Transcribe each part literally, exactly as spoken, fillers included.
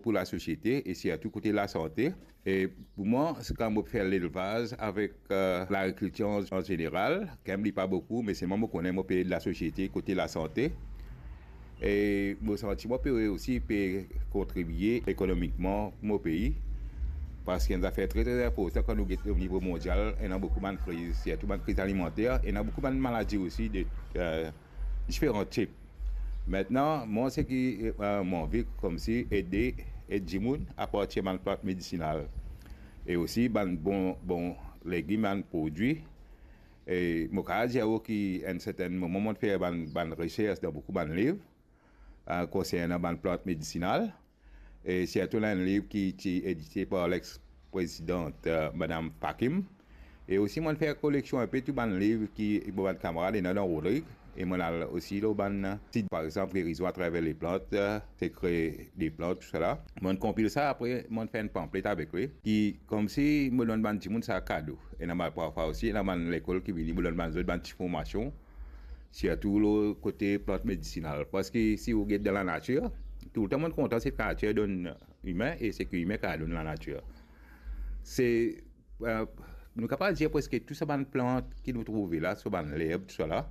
pou lasosiete e sirtou kote lasante. E pou mwa, se kan mo fer lelvaz avek, eh, lagrikiltir an, an zeneral, kan mem li pa boukou, me selman mo kone mo pe ed lasosiete kote lasante. E mo santi mo pe osi pe kontribie ekonomikman pou mo pei, parski enn zafer tre, tre inportan kan nou get o nivo mondial, ena boukou bann kriz, sirtou bann kriz alimanter, ena boukou bann maladi osi de, eh, diferan tip. Aster, mwa seki, eh, mo anvi koumsi ede, ed dimoun apartir bann plant medisinal e osi bann bon, bon legim, bann prodwi. E mo kapav dir ou ki enn sertenn moman mo fer bann, bann resers dan boukou bann liv, eh, konsernan bann plant medisinal. E sirtou ena enn liv ki ti edite par lex-prezidant, eh, Madam Pakim. E osi, mo fer koleksion inpe tou bann liv ki mo bann kamarad ena dan Rodrig. E mo al osi lor bann sit, par exanp, Gerizon atraver leplant, eh, Sekre deplant, tousala. Mo konpil sa, apre mo fer enn panflet avek li, ki koumsi mo donn bann dimoun sa kado. Ena bann, parfwa osi, ena bann lekol ki vini, mo donn bann zot bann ti formasion, sirtou lor kote plant medisinal. Parski si ou get dan lanatir, toultan mo kontan seki lanatir donn imin e seki imin kapav donn lanatir. Se, eh, nou kapav dir preske tou sa bann plant ki nou trouve la, so bann lerb, tousala,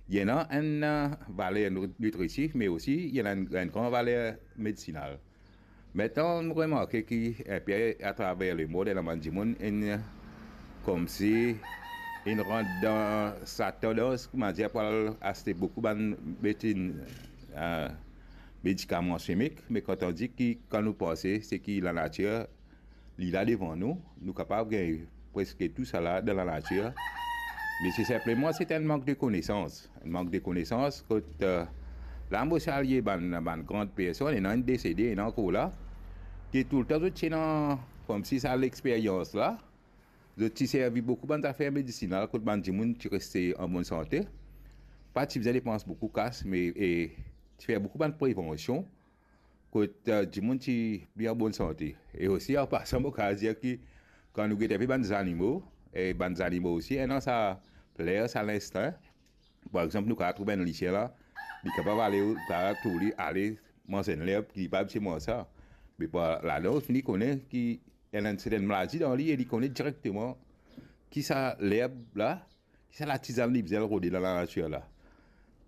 li ena enn, eh, valer nitri-, nitritif, me osi li ena enn, enn gran valer medisinal. Aster, nou remarke ki inpe atraver lemond, ena bann dimoun inn, koumsi, inn rant dan sa tandans, koumadir, pou al aste boukou bann betin, eh, medikaman simik, me kan tandi ki, kan nou panse, seki lanatir, li la devan nou, nou kapav gagn preske tousala dan lanatir. Me se sinpleman, se enn mank de konesans. Enn mank de konesans, kot, eh, la mo salye bann, bann gran personn, ena inn desede, ena ankor la, ki toultan zot ti ena koumsi sa lexperyans la, zot ti servi boukou bann zafer medisinal, kot bann dimoun ti reste an bonn sante, pa ti bizin depans boukou kas, me, e ti fer boukou bann prevansion, kot, eh, dimoun ti pli an bonn sante. E osi, an pasan, mo kapav dir ki kan nou get inpe bann zanimo, e bann zanimo osi ena sa fler, sa linstin. Par exanp, nou kapav trouv enn lisien la, li kapav ale, ou kapav trouv li ale manz enn lerb ki li pa abitie manz sa. Me par ladan, ou fini kone ki ena enn sertenn maladi dan li e li kone direkteman ki sa lerb la, ki sa latizann li bizin rode dan lanatir la.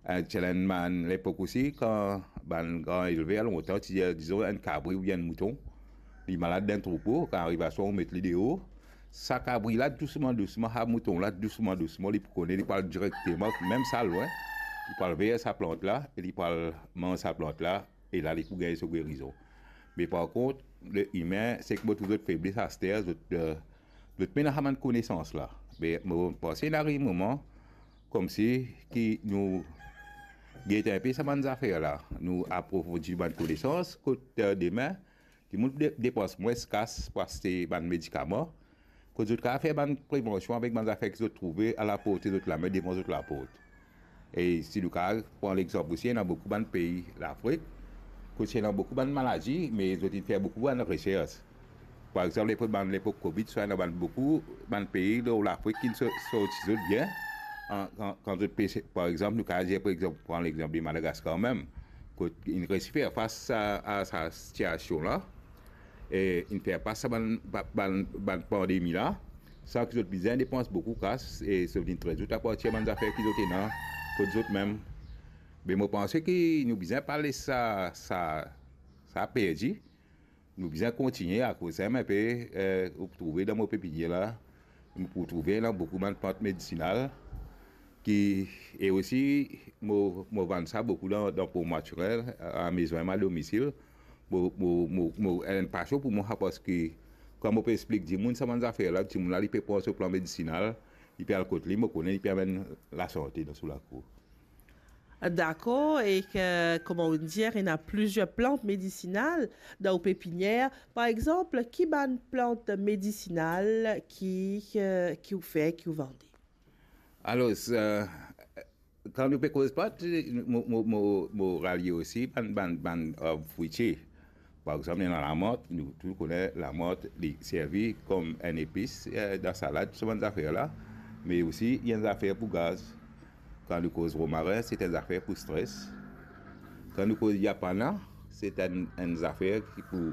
Eh, ti ena enn bann lepok osi, kan bann gran elver lontan ti dir, dizon, enn kabri oubien enn mouton, li malad dan troupo, kan ariv aswar, ou met li deor, sa kabri la, dousman, dousman, sa mouton la, dousman, dousman, li pou kone, li pou al direkteman, mem sa lwin, li pou al ver sa plant la, e li pou al manz sa plant la, e la, li pou gagn so gerizon. Me par kont, le imin, seki mo trouv zot febles aster, zot, eh, zot pena sa bann konesans la. Me mo panse inn ariv moman, koumsi ki nou get inpe sa bann zafer la, nou aprofondi bann konesans, kot, eh, demin, dimoun de-, depans mwins kas pou aste bann medikaman, kot zot kapav fer bann prevansion avek bann zafer ki zot trouve alaporte zot lame, devan zot laport. E si nou kapav pran lexanp osi, ena boukou bann pei Lafrik, kot ena boukou bann maladi, me zot inn fer boukou bann resers. Par exanp, lepok bann, lepok Covid, sa ena bann boukou bann pei lor Lafrik ki so-, sorti zot bien. An, kan, kan zot pe, par exanp, nou kapav dir, par exanp, pran lexanp de Madagaskar mem, kot inn resi fer fas a, a sa sitiasion la, e inn fer fas sa bann, ba-, bann, bann pandemi la, san ki zot bizin depans boukou kas, e zot inn tret zot apartir bann zafer ki zot ena kot zot mem. Me mo panse ki nou bizin pa les sa, sa, sa perdi. Nou bizin kontigne, akoz sa mem pe, eh, ou pou trouve dan mo pepinier la, nou pou trouve la boukou bann plant medisinal ki, e osi, mo, mo vann sa boukou dan, dan Port Naturel, a, a mezon a domisil. Mo, mo, mo, mo, enn pasion pou mwa, parski kan mo pe explik dimoun sa bann zafer la, dimoun la, li pe pran so plant medisinal, li pe al kot li, mo kone li pe amenn lasante dan so lakour. Dakor, e ki, kouma ou dir, ena plizier plant medisinal dan ou pepinier. Par exanp, ki bann plant medisinal ki, ki, ki ou fer, ki ou vande? Alor, eh, kan nou pe koz plant, mo, mo, mo, mo ralie osi bann, bann, bann arb fwitie. Par exanp, ena lamant, nou tou kone lamant, li servi kom enn epis, eh, dan salad, so bann zafer la, me osi li enn zafer pou gaz. Kan nou koz romarin, se enn zafer pou stres. Kan nou koz yapana, se enn, enn zafer ki pou